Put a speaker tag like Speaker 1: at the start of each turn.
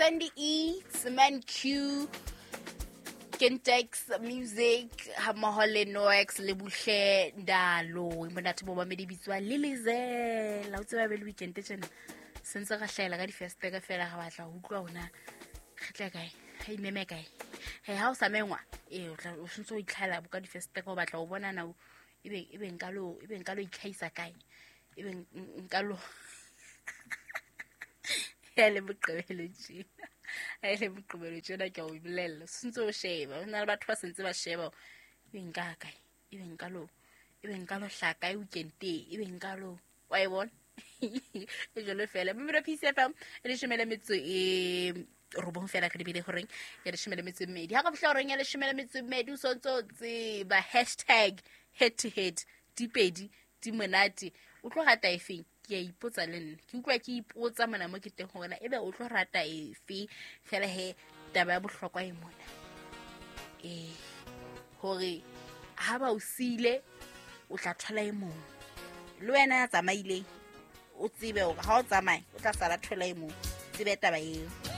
Speaker 1: Sandy E, Cement Q, Kentex Music hammoho le Noex le Buhle Ndalo. Monate bo mamedi bitswa Lilizela. O tseba be le weekend tjena. Sentse ra hlahela ka difestere fela re batla ho utlwa hona re tle kae, re imeme kae. He ha o sa mengwa, ee o tla o sentse o itlhaela bo ka difestere o batla ho bona na ebe nka lo ebe nka lo itlhahisa kae. Ebe nka lo ya le Moqebelo tjena, ha e le Moqebelo tjena, ke a o bolella, sentse o sheba ho na le batho ba sentse ba sheba ebe nka kae, ebe nka lo ebe nka lo hlaha kae weekend e, ebe nka lo wa e bona e jalo fela. Mmino Peace FM e 18 fela re lebile horeng ya 12. Ha ka fihla horeng ya 12, o sontse o tseba hashtag head to head, dipedi di monate, o tlo rata efeng? Ke a ipotsa le nna, ke utlwa ke ipotsa mona mo ke teng hore ebe o tlo rata efe. Fela he taba ya bohlokwa e mona, ee hore ha ba o siile o tla thola e mong, le wena ya tsamaileng o tsebe hore ha o tsamaye o tla sala thola e mong, tsebe taba eo.